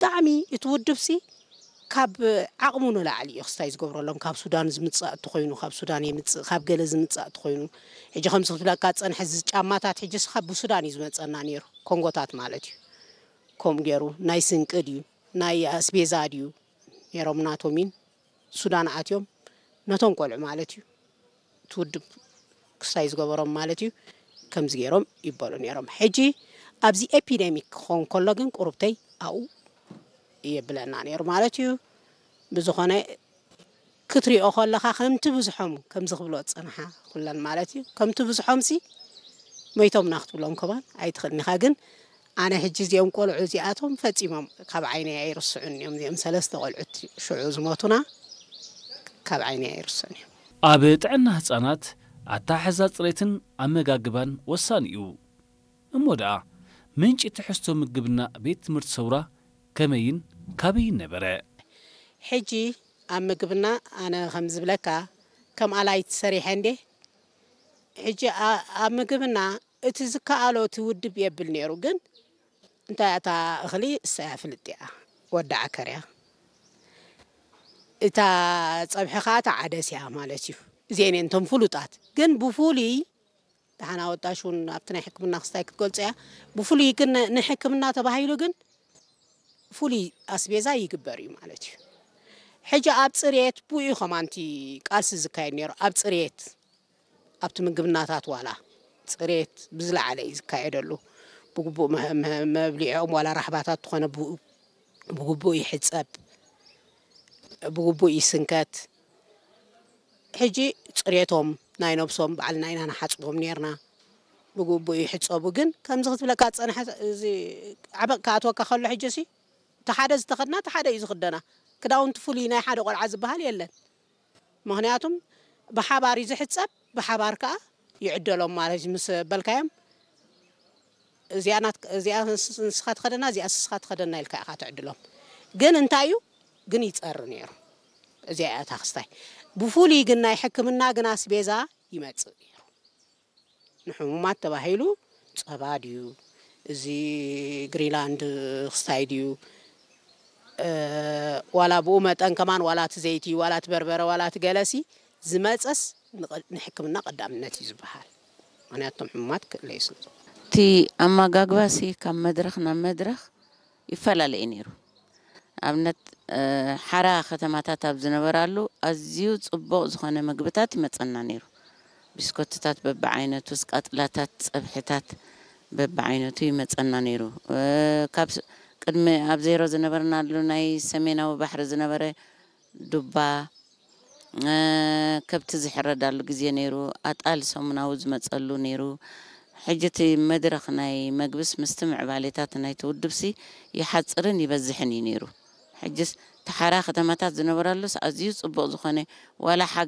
ብጣዕሚ እቲ ውድብሲ ካብ ዓቕሙ ንላዕሊ እዩ ክስታይ ዝገብረሎም። ካብ ሱዳን ዝምጻእ እንተኾይኑ፣ ካብ ሱዳን የምጽእ፣ ካብ ገለ ዝምጻእ እንተኾይኑ፣ ሕጂ ከምዚ ክትብለካ ዝጸንሐ፣ እዚ ጫማታት ሕጂ ስኻ ብሱዳን እዩ ዝመጸና ነይሩ፣ ኮንጎታት ማለት እዩ። ከምኡ ገይሩ ናይ ስንቂ ድዩ ናይ ኣስቤዛ ድዩ ነይሮም ናቶሚን ሱዳን ኣትዮም ነቶም ቆልዑ ማለት እዩ። እቲ ውድብ ክስታይ ዝገበሮም ማለት እዩ። ከምዚ ገይሮም ይበሉ ነይሮም። ሕጂ ኣብዚ ኤፒደሚክ ክኸውን ከሎ ግን ቁሩብተይ ኣብኡ የብለና ነይሩ ማለት እዩ። ብዝኾነ ክትሪኦ ከለኻ ከምቲ ብዝሖም ከምዚ ክብሎ ዝጸንሓ ኩለን ማለት እዩ። ከምቲ ብዝሖምሲ መይቶምና ክትብሎም ከማን ኣይትኽእልን ኢኻ። ግን ኣነ ሕጂ እዚኦም ቆልዑ እዚኣቶም ፈጺሞም ካብ ዓይነይ ኣይርስዑን እዮም። እዚኦም ሰለስተ ቆልዑት ሽዑ ዝሞቱና ካብ ዓይነይ ኣይርስዑን እዮም። ኣብ ጥዕና ህጻናት ኣተሓሕዛ ጽሬትን ኣመጋግባን ወሳኒ እዩ። እሞ ደኣ ምንጪ ትሕዝቶ ምግብና ቤት ትምህርቲ ሰውራ ከመይን ካበይን ነበረ? ሕጂ ኣብ ምግብና ኣነ ከም ዝብለካ ከም ኣላይት ሰሪሐ እንዴ። ሕጂ ኣ-፣ ኣብ ምግብና እቲ ዝከኣሎ እቲ ውድብ የብል ነይሩ፣ ግን እንታይ እታ እኽሊ እሳያ ፍልጥ እያ፣ ወዲ ዓከር እያ። እታ ጸብሒ ኸኣ እታ ዓደስ እያ ማለት እዩ። እዚአን እየን እቶም ፍሉጣት። ግን ብፍሉይ ደሓን ኣወጣሽ እውን ኣብቲ ናይ ሕክምና ክስታይ ክትገልጾ እያ። ብፍሉይ ግን ን-፣ ንሕክምና ተባሂሉ ግን ፍሉይ ኣስቤዛ ይግበር እዩ ማለት እዩ። ሕጂ ኣብ ጽሬት ብኡ እዩ ከማንቲ ቃልሲ ዝካየድ ነይሩ። ኣብ ጽሬት፣ ኣብቲ ምግብናታት ዋላ ጽሬት ብዝለዓለ እዩ ዝካየደሉ። ብግቡእ መ-፣ መ-፣ መብሊዕኦም ዋላ ራሕባታት ትኾነ ብኡ-፣ ብግቡእ ይሕጸብ፣ ብግቡእ ይስንከት። ሕጂ ጽሬቶም ናይ ነብሶም ባዕልና ኢና ንሓጽቦም ኔርና። ብግቡእ ይሕጸቡ። ግን ከምዚ ክትብለካ ዝጸንሐ፣ እዚ ዓበቕ ክኣትወካ ከሎ፣ ሕጂ ሲ እቲ ሓደ ዝተኸድና እቲ ሓደ እዩ ዝኽደና። ክዳውንቲ ፍሉይ ናይ ሓደ ቆልዓ ዝበሃል የለን። ምኽንያቱም ብሓባር እዩ ዝሕጸብ፣ ብሓባር ከኣ ይዕደሎም ማለት እዩ። ምስ በልካዮም፣ እዚኣ ናት-፣ እዚኣ ንስ-፣ ንስኻ ትኸደና፣ እዚኣ ንስኻ ትኸደና ኢልካ ኢኻ ትዕድሎም። ግን እንታይ እዩ? ግን ይጸሪ ነይሩ። እዚኣ እያ እታ ክስታይ። ብፍሉይ ግን ናይ ሕክምና ግን ኣስቤዛ ይመጽእ ነይሩ። ንሕሙማት ተባሂሉ ጸባ ድዩ፣ እዚ ግሪንላንድ ክስታይ ድዩ፣ እ፣ ዋላ ብኡ መጠን ከማን፣ ዋላ እቲ ዘይቲ፣ ዋላ እቲ በርበረ፣ ዋላ እቲ ገለሲ ዝመጸስ ንቐ-፣ ንሕክምና ቀዳምነት እዩ ዝበሃል። ምኽንያቱ እቶም ሕሙማት ክእለዩ ስለ ዝኾኑ። እቲ ኣመጋግባሲ ካብ መድረኽ ናብ መድረኽ ይፈላለ እዩ ነይሩ። ኣብነት፣ እ፣ ሓራ ከተማታት ኣብ ዝነበራሉ ኣዝዩ ጽቡቕ ዝኾነ ምግብታት ይመጸና ነይሩ። ቢስኮትታት በብዓይነቱ፣ ስቃጥላታት፣ ጸብሕታት በብዓይነቱ ይመጸና ነይሩ። እ፣ ካብ ስ-፣ ቅድሚ ኣብ ዜሮ ዝነበርናሉ ናይ ሰሜናዊ ባሕሪ ዝነበረ ዱባ፣ እ፣ ከብቲ ዝሕረዳሉ ግዜ ነይሩ። ኣጣል ሰሙናዊ ዝመጸሉ ነይሩ። ሕጂ እቲ መድረኽ ናይ መግብስ ምስቲ ምዕባሌታት ናይቲ ውድብሲ ይሓጽርን ይበዝሕን እዩ ነይሩ። ሕጅስ እቲ ሓራ ከተማታት ዝነበረሉስ ኣዝዩ ጽቡቕ ዝኾነ ዋላ ሓ-፣